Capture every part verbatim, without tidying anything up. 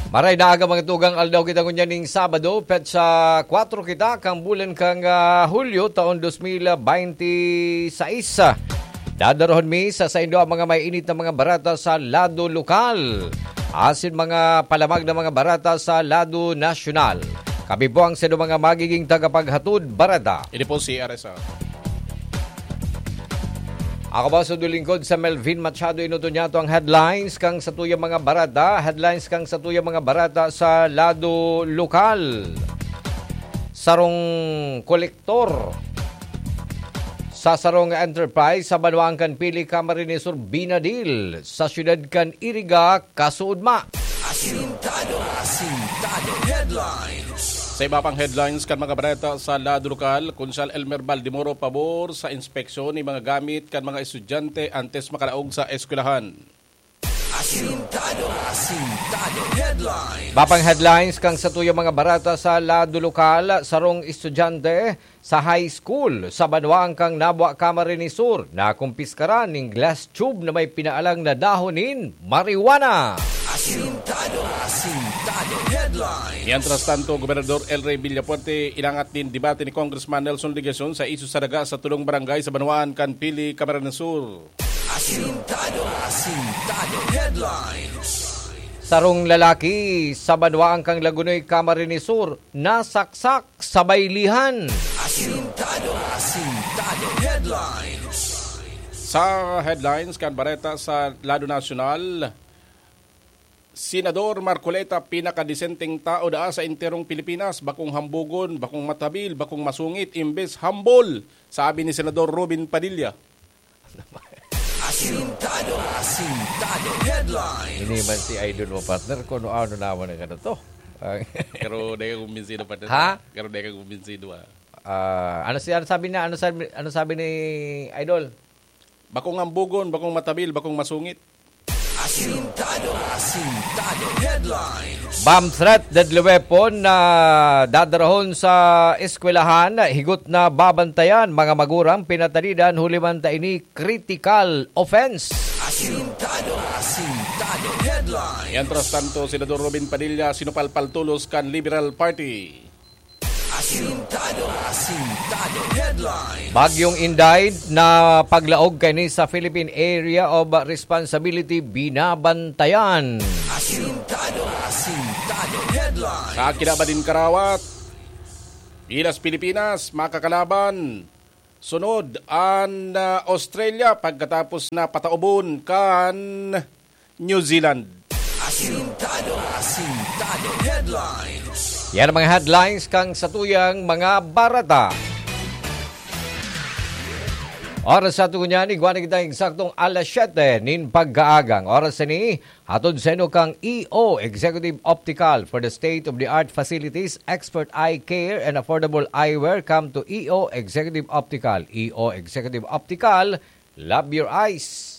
Maray na aga, mga tugang, aldaw kita ngunyan ning Sabado, petsa kwatro kita, kan bulan kan, ah, Hulyo, taon dos mil bente seis. Dadarahon mi sa saindo ang mga mainit na mga bareta sa lado lokal, asin mga palamag na mga bareta sa lado nasyonal. Kami po ang saindo mga magiging tagapaghatod bareta. Ini po si R S R. Ako po, sundulingkod sa Melvin Machado, inuto niya to ang headlines kan satuyang mga bareta. Headlines kan satuyang mga bareta sa lado lokal. Sarong kolektor sa sarong enterprise sa banwaan kan Pili, Camarines Sur, binadil sa siyudad kan Iriga, kasuodma. Asintado, asintado headlines. Sa iba pang headlines kan mga bareta sa lado lokal, Konsehal Elmer Baldemoro pabor sa inspeksyon ni mga gamit kan mga estudyante antes makalaog sa eskwelahan. Asintado, asintado headlines. Iba pang headlines kan satuyang mga bareta sa lado lokal, sarong estudyante sa high school sa banwaan kan Nabua, Camarines Sur, nakumpiskaran nin glass tube na may pinaalang na dahon nin marijuana. Asintado, asintado headlines. Mientras tanto, Gobernador El Rey Villafuerte inangat nin debate ni Congressman Nelson Legacion sa isyu sa daga sa tulong barangay sa banwaan kan Pili, Camarines Sur. Asintado, asintado headlines. Sarong lalaki sa banwaan kan Lagonoy, Camarines Sur, nasaksak sa baylihan. Asintado, asintado headlines. Sa headlines kan bareta sa lado nasyonal, Senador Marcoleta, pinakadesenteng tao daa sa enterong Pilipinas, bakong hambugon, bakong matabil, bakong masungit, imbes humble, sabi ni Senador Robin Padilla. Asintado, asintado headlines. Ini man si Idol mo, partner, kung ano naman ang ano to. Ang Pero di ka kumbinsido, partner. Ha? Pero di ka kumbinsido, ah. Ah, ano si, ano sabi niya? Ano sabi, ano sabi ni Idol? Bakong ambugon, bakong matabil, bakong masungit. Asintado, asintado headlines. Bomb threat, deadly weapon na dadarahon sa eskwelahan, higot na babantayan mga magurang pinatanidan huli man ta ini critical offense. Asintado, asintado headlines. Mientras tanto, Senador Robin Padilla sinupalpal tolos kan Liberal Party. Asintado, asintado headlines. Bagyong Inday na paglaog kaini sa Philippine Area of Responsibility binabantayan. Asintado, asintado headlines. Sa kinaban nin karawat, Pinas, Pilipinas, makakalaban sunod an, ah, Australia pagkatapos na pataubon kan New Zealand. Asintado, asintado headlines. Yan ang mga headlines kan satuyang mga bareta. Oras sa aton ngunyan, igwa na kita eksaktong alas siyete nin pagkaaga. Oras ini, hatod sa inyo kan E O Executive Optical for the state-of-the-art facilities, expert eye care, and affordable eyewear. Come to E O Executive Optical. E O Executive Optical, love your eyes.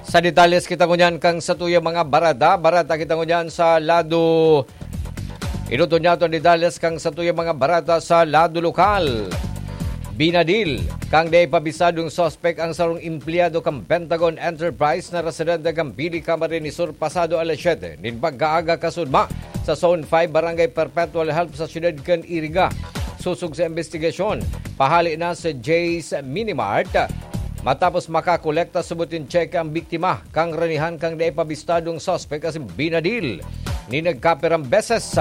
Sa detalyes kita ngunyan kan satuyang mga bareta. Bareta kita ngunyan sa lado, inuto niya an detalyes kan satuyang mga bareta sa lado lokal. Binadil kan dai pa bisadong suspek ang sarong empleyado kan Pentagon Enterprise na residente kan Pili, Camarines Sur, pasado alas siyete nin pagkaaga, kasuodma sa Zone five, Barangay Perpetual Help sa siyudad kan Iriga. Sosog sa imbestigasyon, pahale na sa Jay's Minimart matapos makakolekta subot nin tseke ang biktima, kangranihan kan dai pa bistadong suspek asin binadil nin nagkapirang beses.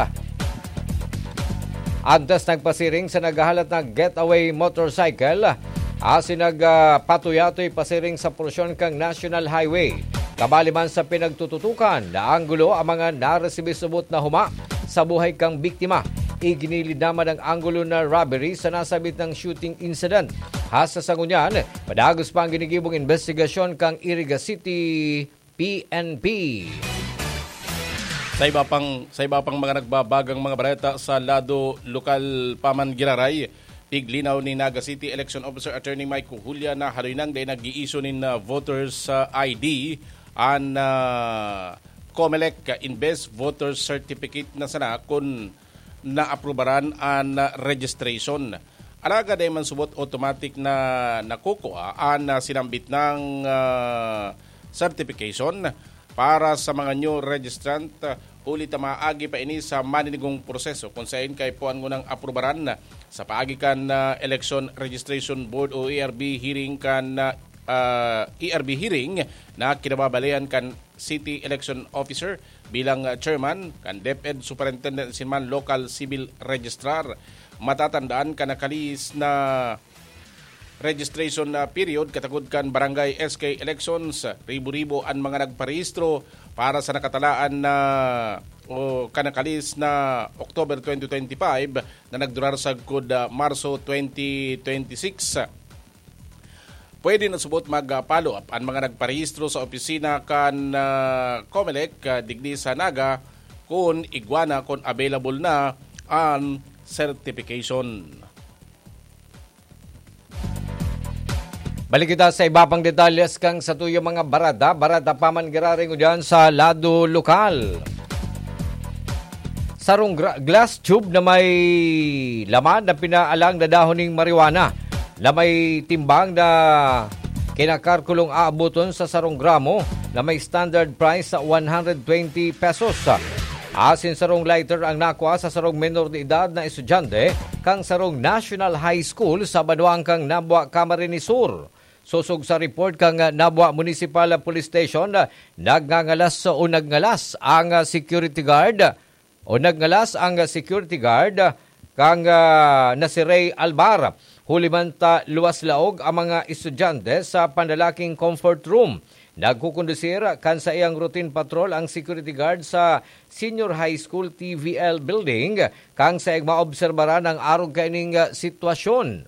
Antes nagpasiring sa naghahalat na getaway motorcycle asin nag, ah, patuyatoy pasiring sa porsyon kan National Highway. Kabali man sa pinagtututukan na anggulo ang mga naresibi subot na huma sa buhay kan biktima. Iginilid naman ang anggulo na robbery sa nasabit na shooting incident. Hasta sa ngunyan, padagos pa ang ginigibong imbestigasyon kan Iriga City P N P. Sa iba pang, sa iba pang mga nagbabagang mga bareta sa lado lokal pa man giraray, piglinaw ni Naga City Election Officer Attorney Mike Julia na haloy nang dai nag-i-issue nin, ah, voters, ah, I D an, ah, Comelec, imbes voter certificate na sana kun naaprubaran an, ah, registration. Alagad dai man subot automatic na nakukua an, ah, sinambit nang, ah, certification para sa mga new registrant, ah, huli ta maagi pa ini sa maninigong proseso kun saen kaipuhan ngunang aprubaran sa paagi kan, ah, Election Registration Board o E R B hearing kan, ah, ah, E R B hearing na kinababalayan kan City Election Officer bilang, ah, chairman kan DepEd Superintendent asin man Local Civil Registrar. Matatandaan kan nakalihis na registration na period katagod kan barangay S K elections, ribo-ribo an mga nagparehistro para sa nakatalaan na o kanakalihis na October twenty twenty-five na nagdurar sagkod, ah, Marso twenty twenty-six. Pwede na subot mag-follow up an mga nagparehistro sa opisina kan, ah, Comelec, ah, digdi sa Naga kun igwa na, kun available na an certification. Balik kita sa iba pang detalles kan satuyang mga barada. Barada pa man giraray ngunyan sa lado lokal. Sarong gra-, glass tube na may laman na pinaalang na dahon ning marijuana na may timbang na kinakalkulong aaboton sa sarong gramo na may standard price sa one hundred twenty pesos. Asin sarong lighter ang nakua sa sarong menor de edad na estudyante kan sarong National High School sa banwaan kan Nabua, Camarines Sur. Sosog sa report kan Nabua Municipal Police Station, nagngangalas o nagngalas ang security guard o nagngalas ang security guard kan, ah, na si Ray Albar. Huli man ta luwas laog ang mga estudyante sa panlalaking comfort room. Nagkukondusir kan saiyang routine patrol ang security guard sa Senior High School T V L building, kan saiyang maobserbaran ang arog kaining, ah, sitwasyon.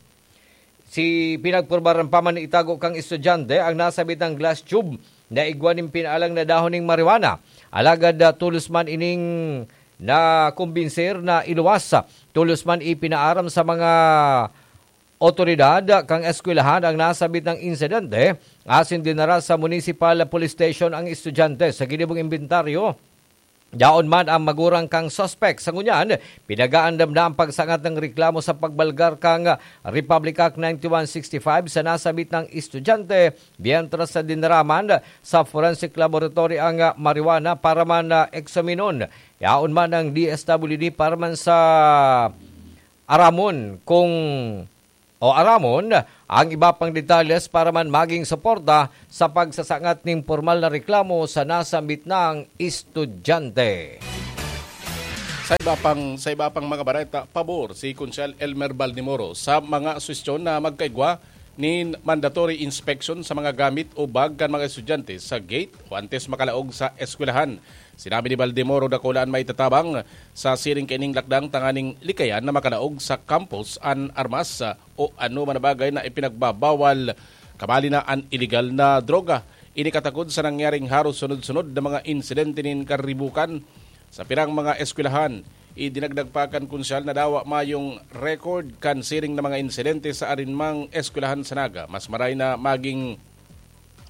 Si pinagpurbaran pa man itago kan estudyante ang nasabitang glass tube na igwa nin pinaalang na dahon nin marijuana. Alagad, ah, tolos man ining nakumbinser na iluwas. Tolos man ipinaaram sa mga otoridad kan eskwelahan ang nasabitang insidente asin dinara sa Municipal Police Station ang estudyante. Sa ginibong imbentaryo, yaon man ang magurang kan suspek. Sa ngunyan, pinag-aandam na ang pagsangat nin reklamo sa pagbalgar kan Republic Act ninety-one sixty-five sa nasabitang estudyante, mientras na dinara man sa forensic laboratory ang marijuana para man eksaminon. Yaon man ang D S W D para man sa aramon kung o aramon ang iba pang detalles para man maging suporta sa pagsasangat nin pormal na reklamo sa nasambit na estudyante. Sa iba pang, sa iba pang mga bareta, pabor si Konsehal Elmer Baldemoro sa mga suhestyon na magkaigwa nin mandatory inspection sa mga gamit o bag kan mga estudyante sa gate o antes makalaog sa eskwelahan. Sinabi ni Baldemoro, dakula an maitatabang sa siring kaining lakdang tanganing likayan na makalaog sa campus an armas o anoman na bagay na ipinagbabawal, kabali na an iligal na droga. Ini katakod sa nangyaring haros sunod-sunod na mga insidente nin karibukan sa pirang mga eskwelahan. Idinagdag pa kan Konsehal na dawa mayong record kan siring na mga insidente sa arinmang eskwelahan sa Naga. Mas maray na maging,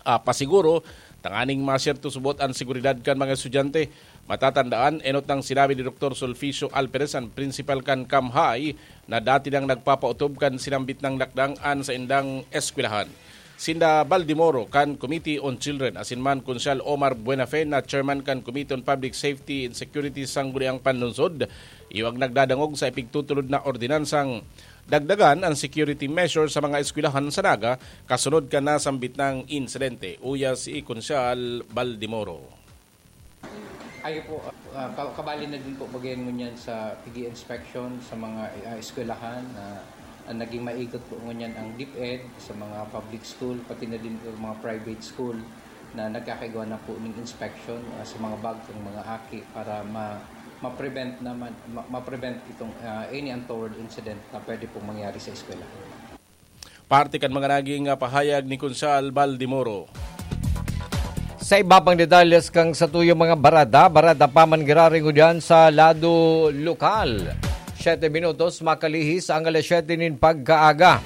ah, pasiguro tanganing masyerto subot an seguridad kan mga estudyante. Matatandaan, enot nang sinabi ni Doktor Sulficio Alperes, an prinsipal kan Camp High, na dati nang nagpapautob kan sinambit nang lakdang an saindang eskwelahan. Sinda Baldemoro kan Committee on Children asin man Konsehal Omar Buenafe na chairman kan Committee on Public Safety and Security sa Sangguniang Panlungsod, iyo ang nagdadangog sa ipigtutulod na ordinansang dagdagan an security measure sa mga eskwelahan sa Naga kasunod kan nasambit nang insidente. Uya si Konsehal Baldemoro. Ayo po, ah, ka-, kabali na din po baga yan ngunyan sa pigi-inspection sa mga, ah, eskwelahan na, ah, naging maigot po ngunyan ang DepEd sa mga public school, pati na din po mga private school na nagkakaigwa na po ng inspection, ah, sa mga bag kan mga aki para ma-, ma-prevent naman, ma-, ma-prevent itong, ah, any untoward incident na pwede pong mangyari sa eskwelahan. Parte kan mga naging, ah, pahayag ni Konsehal Baldemoro. Sa iba pang detalles kan satuyang mga barada, barada pa man giraray ngunyan sa lado lokal. Siyete minutos makalihis ang alas siyete nin pagkaaga.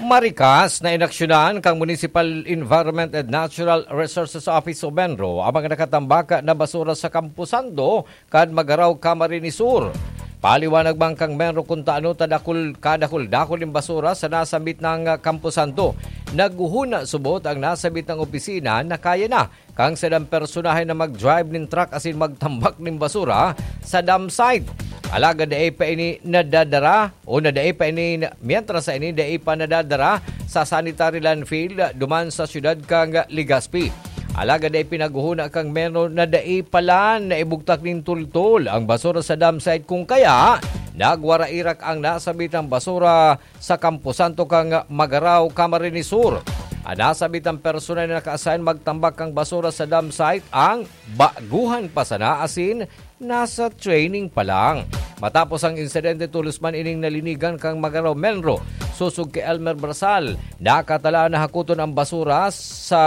Marikas na inaksyonan kan Municipal Environment and Natural Resources Office o MENRO ang mga nakatambak na basura sa Campo Sando kan Magarao, Camarines Sur. Paliwanag man kan Menro kun ta ano ta dakul, kadakul-dakul nin basura sa nasambit na Camposanto. Naghuhuna subot ang nasambit na opisina na kaya na kan sadang personahe na mag-drive nin truck asin magtambak nin basura sa dump site. Alagad dai pa ini nadadara o na dai pa ini, mientras sa ini dai pa nadadara sa sanitary landfill duman sa siyudad kan Legazpi. Alagad dai pinaghuhuna kan Menro na dai pala naibugtak nin tultol ang basura sa dump site, kung kaya nagwarairak ang nasambitang basura sa Camposanto kan Magarao, Camarines Sur. An nasambitang personahe na naka-assign magtambak kan basura sa dump site ang baguhan pa sana asin nasa training pa lang. Matapos ang insidente, tolos man ining nalinigan kan Magarao Menro. Sosog ki Elmer Brasal, nakatalaan na hakoton ang basura sa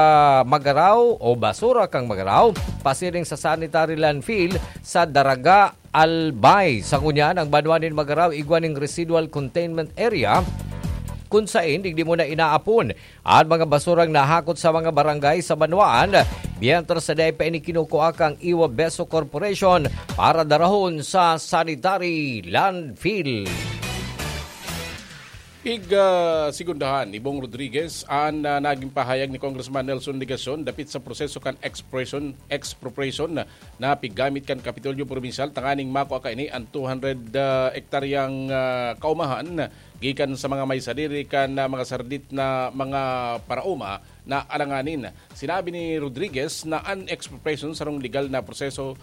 Magarao o basura kan Magarao pasiring sa sanitary landfill sa Daraga, Albay. Sa ngunyan, ang banwa nin Magarao igwa nin residual containment area kun saen digdi muna inaapon an mga basurang nahakot sa mga barangay sa banwaan, mientras sa dai pa ini kinukua kan Iwa Beso Corporation para darahon sa sanitary landfill. Pig, ah, segundahan ni Bong Rodriguez an, ah, naging pahayag ni Congressman Nelson Legacion dapit sa proseso kan expression, expropriation na, na piggamit kan Kapitolyo Probinsyal tanganing makua kaini an two hundred, ah, ektaryang, ah, kaumahan gikan sa mga may sadiri kan, ah, mga sardit na mga paraoma na alanganin. Sinabi ni Rodriguez na an expropriation sarong legal na proseso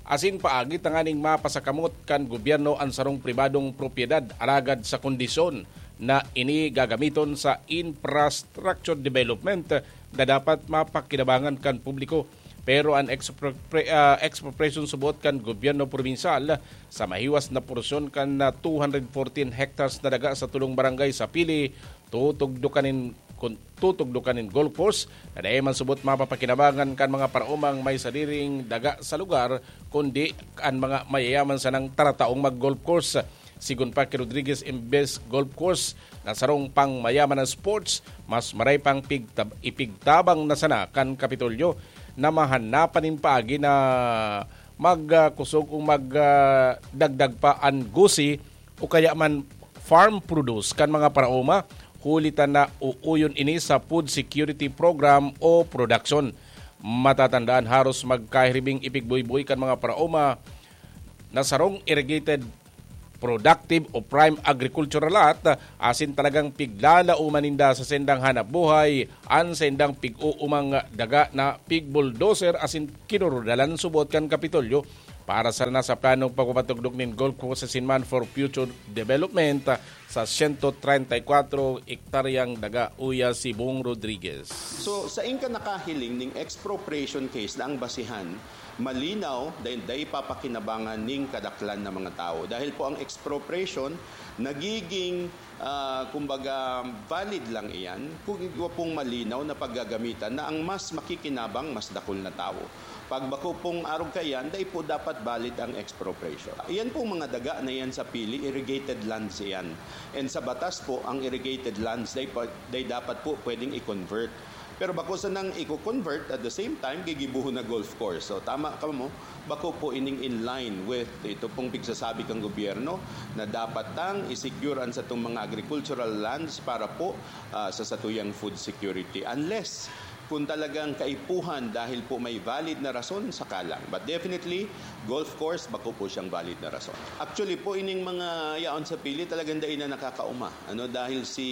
asin paagi tanganing mapasakamot kan gobyerno an sarong pribadong propiedad, alagad sa kondisyon na ini gagamiton sa infrastructure development na dapat mapakinabangan kan publiko. Pero an expropri-, ah, expropriation subot kan gobyerno probinsyal sa mahiwas na porsyon kan, ah, two hundred fourteen hectares na daga sa tulong barangay sa Pili, tutugdokan nin, kun-, tutugdokan nin golf course na dai man subot mapapakinabangan kan mga paraomang may sadiring daga sa lugar, kundi an mga mayayaman sanang tarataong mag-golf course. Sigon pa ki Rodriguez, imbes golf course na sarong pangmayaman na sports, mas maray pang pigtab-, ipigtabang na sana kan Kapitolyo na mahanapan nin paagi na magkosog o magdagdag pa an gusi o kaya man farm produce kan mga paraoma, huli ta nauuyon ini sa food security program o production. Matatandaan, haros magkahiribing ipigboyboy kan mga paraoma na sarong irrigated productive o prime agricultural lot, asin talagang piglalauman ninda sa saindang hanap buhay an saindang pig-uumang daga na pig-bulldozer asin kinurudalan subot kan Kapitolyo para sana sa planong pagpapatugdok nin golf course asin man for future development sa siyento treinta y kuwatro ektaryang daga, uya si Bong Rodriguez. So, sain ka nakahiling ning expropriation case na ang basihan malinaw, dai, dai papakinabangan ning kadaklan na mga tawo. Dahil po ang expropriation nagiging, ah, kumbaga, valid lang iyan kung igwa pong malinaw na paggagamitan na ang mas makikinabang, mas dakul na tawo. Pag bako pong arog kaiyan, dai po dapat valid ang expropriation. Iyan pong mga daga na iyan sa Pili, irrigated lands iyan. And sa batas po, ang irrigated lands, dai, pa, dai dapat po pwedeng i-convert. Pero bako sanang i-convert, at the same time, gigibohon na golf course. So, tama ka mo, bako po ining in line with ito pong pigsasabi kang gobyerno na dapat tang i-secure ang satong mga agricultural lands para po, ah, sa satuyang food security. Unless kung talagang kaipuhan dahil po may valid na rason, saka lang. But definitely, golf course, bako po siyang valid na rason. Actually po, ining mga yaon sa Pili, talagang dai na nakakauma. Ano, dahil si,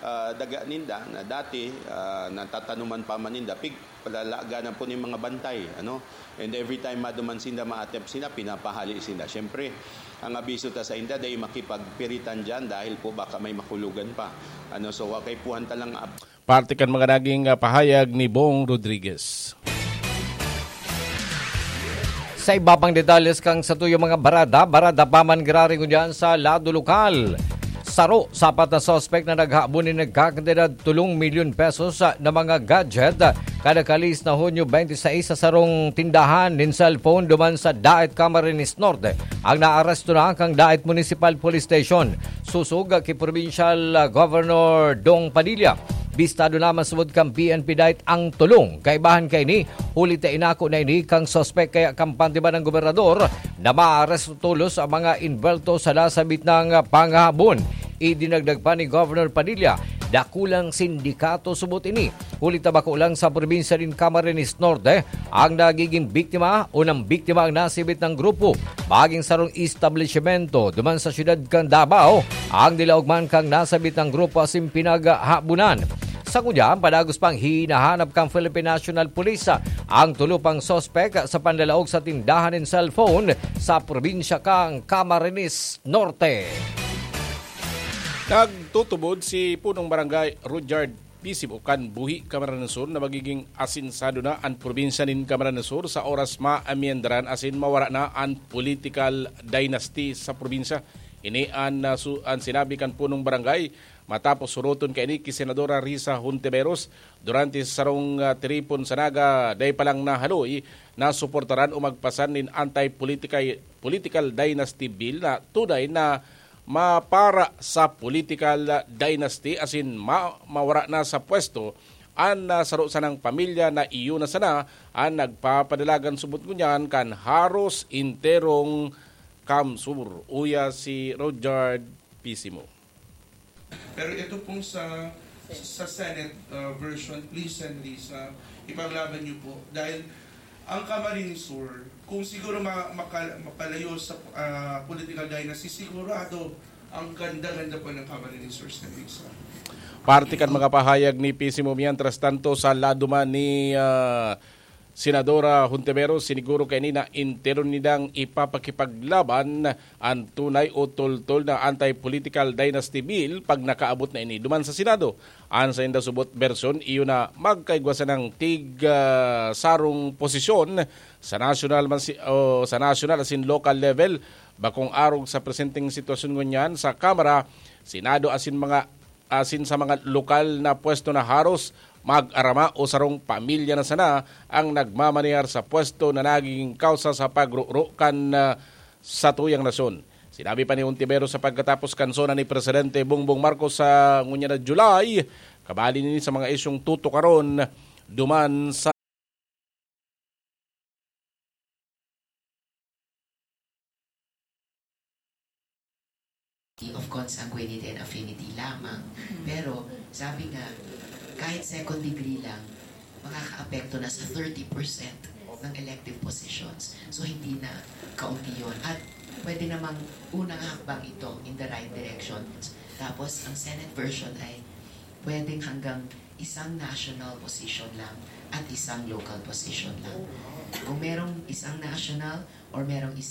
ah, daga ninda na dati, ah, natatanuman pa man ninda, pig, palalaganan po ning mga bantay, ano? And every time maduman sinda, ma-attempt sinda, pinapahali sinda. Siyempre, ang abiso ta sa inda, dai makipagpiritan diyan dahil po baka may makulogan pa. Ano, so, kaipuhan ta lang ap- Parte kan mga naging, ah, pahayag ni Bong Rodriguez. Sa iba pang detalles kan satuyang mga barada, barada pa man giraray ngunyan sa lado lokal. Saro sa apat na suspek na naghahabon nin nagkakantidad tolong milyon pesos, ah, na mga gadget, ah, kada kalis na Hunyo twenty-six sa sarong tindahan nin cellphone duman sa Daet, Camarines Norte, ang naaresto na kan Daet Municipal Police Station. Sosog ki Provincial, ah, Governor Dong Padilla, Bistado naman subod kan P N P DITE ang tulong. Kaibahan kaini, huli ta inako na ini kan suspek kaya kampante man ang gobernador na maaresto tolos ang mga involto sa nasabit na panghahabon. Idinagdag pa ni Governor Padilla, dakulang sindikato subot ini. Huli ta bako lang sa probinsya nin Camarines Norte ang nagiging biktima o nang biktima ang nasibit ng grupo. Maging sarong establishmento duman sa siyudad kan Davao ang nilaog man kan nasabit ng grupo asin pinaghabunan. Sa ngunyan, padagos pang hinahanap kan Philippine National Police ang tulo pang suspek sa panlalaog sa tindahan nin cellphone sa probinsya kan Camarines Norte. Nagtutubod si Punong Barangay Rudyard Pisimo kan Buhi, Camarines Sur, na magiging asinsado na an probinsya nin Camarines Sur sa oras maamiendaran asin mawara na an political dynasty sa probinsya. Ini an, ah, su-, an sinabi kan Punong Barangay matapos suroton kaini ki Senadora Risa Hontiveros durante sa sarong, ah, tiripon sa Naga, dai pa lang nahaloy na suportaran o magpasan nin anti-political, political dynasty bill na tunay na mapara sa political dynasty asin ma-, mawara na sa pwesto an, ah, saro sanang pamilya na iyo na sana an nagpapadalagan subot ngunyan kan haros enterong CamSur. Uya si Rudyard Pisimo. Pero ito pong sa, sa Senate, uh, version, please, Sen Risa, ipaglaban niyo po. Dahil ang Camarines Sur, kung siguro ma-, maka-, mapalayo sa, ah, political dynasty, sigurado ang ganda-ganda po ng Camarines Sur, Sen Risa. Parte kan mga pahayag ni Pisimo. Mientras tanto, sa lado man ni, ah, Senadora Hontiveros, siniguro kaini na entero nindang ipapakipaglaban an tunay o toltol na anti-political dynasty bill pag nakaabot na ini duman sa Senado. An sainda subot bersyon, iyo na magkaigwa sanang tig, ah, sarong posisyon sa national man si, o sa national asin local level. Bakong arog sa presenteng sitwasyon ngunyan sa Kamara, Senado asin mga asin sa mga lokal na pwesto na haros mag-arama o sarong pamilya na sana ang nagmamanehar sa pwesto na nagiging kausa sa pagruro kan, ah, satuyang nasyon. Sinabi pa ni Ontiveros sa pagkatapos kan SONA ni Presidente Bongbong Marcos sa ngunyan na July, kabali nini sa mga isyong tutukaron duman sa of consanguinity and affinity lamang. Pero, sabi nga, kahit second degree lang, makakaapekto na sa thirty percent ng elective positions. So, hindi na kaunti yun. At pwede namang unang hakbang ito in the right direction. Tapos, ang Senate version ay pwedeng hanggang isang national position lang at isang local position lang. Kung merong isang national or merong isang